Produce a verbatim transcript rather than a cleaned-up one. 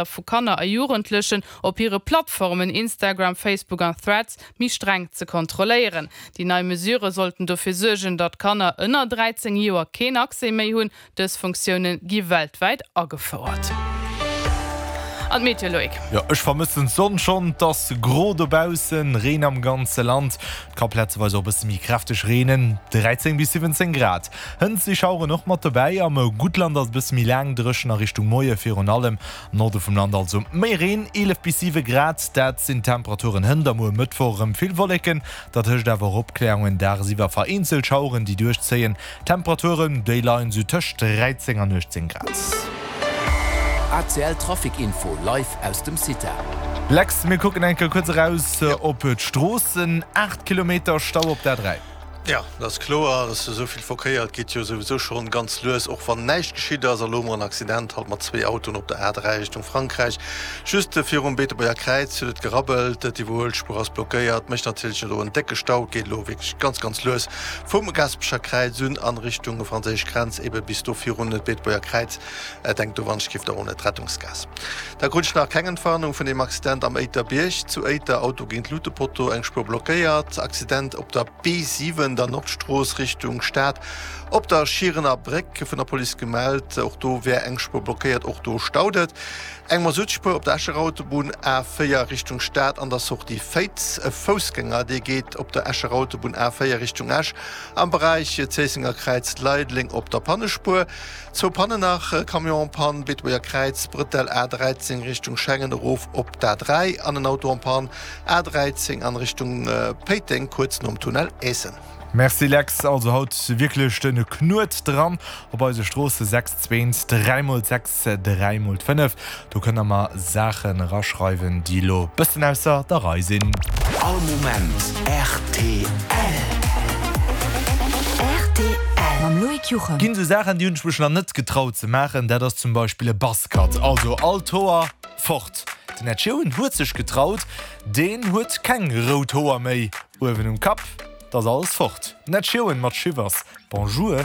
vu Kanner a Jugendlechen op hire Plattformen Instagram, Facebook an Threads méi streng ze kontrolléieren. Déi nei Mesure sollten dofir suergen, datt Kanner ënner dräizéng Joer keen Accès méi hunn. Dës Funktioune gi weltwäit agefouert. An d'Meteo, Loïc. Jo, ech vermëssen d'Sonn schonn. 't ass gro dobaussen, Reen am ganze Land. 't ka plazeweis och e bësse méi kräfteg reenen, dräizéng bis siwwenzéng Grad. Hënt si Schaueren och mat dobäi. Am Guttland ass et e bësse méi laang dréchen a Richtung Moie virun allem am Norde vum Land also méi Reen, eelef bis siwe Grad, dat sinn d'Temperaturen hënt. A muer Mëttwoch erëm vill Wolleken, dat hëscht awer och Opkläerungen, dagsiwwer vereenzelt Schaueren déi duerchzéien. D'Temperaturen déi leien sou tëscht dräizéng an uechtzéng Grad. A C L Trafic Info live aus dem Cita. Lex, mir kucken eng Kéier kuerz eraus op d'Stroossen. Aacht Kilometer Stau op der A dräi. Jo, dat ass kloer, dass esou vill Verkéier, et geet jo souwisou schonn ganz lues, och wann näischt geschitt ass. A lo hu mer en Accident halt mat zwee Autoen op der A dräi Richtung Frankräich. Just virum Beetebuerger Kräiz huet et gerabbelt, d'Iwwerhuelspuer ass blockéiert, mécht natierlech elo en décke Stau. Et geet elo wierklech ganz, ganz lues vum Gaasperecher Kräiz un an Richtung franséisch Grenz, ebe bis do virun d'Beetebuerger Kräiz. Denkt do wann ech giff der ohne d'Rettungsgaass. Da krut ech nach keng Entwarnung vun deem Accident am Éiterbiérg zu Éiter, Auto géint Lutepotto, eng Spuer blockéiert. Accident op der B siwen, der Nordstrooss Richtung Stad, op der Schierener Bréck, vun der Police gemellt, och do wär eng Spuer blockéiert, och do staut et. Eng Masuttspuer op der Escher Autobunn A véier Richtung Stad an der Sortie Féiz. E Foussgänger dee geet op der Escher Autobunn A véier Richtung Esch am Beräich Zéissenger Kräiz Leideleng op der Pannespuer. Zwou Pannen nach, Camion en panne, Beetebuerger Kräiz, Brëtell A dräizéng Richtung Schengen erof op d'A dräi an en Auto en panne, A dräizéng an Richtung Péiteng kuerz nom Tunnel Eessen. Merci Lex, also haut wierklech den Knuet dran op eise Stroosse, sechs zweent dräi mol sechs dräi mol fënnef, do kënnt der mer Saachen eraschreiwen déi lo bëssen ausser der Rei sinn. All Moment rtl. Rtl mam Loïc Juchem. Ginn sou Saachen déi hunn ech mech nach net getraut ze maachen, dat ass zum Beispill e Buzzcut, also all d'Hoer fort. Den Ed Sheeran huet sech getraut, deen huet keng rout Hoer méi uewen um Kapp. 't ass alles fort. Den Ed Sheeran mat Shivers. Bonjour.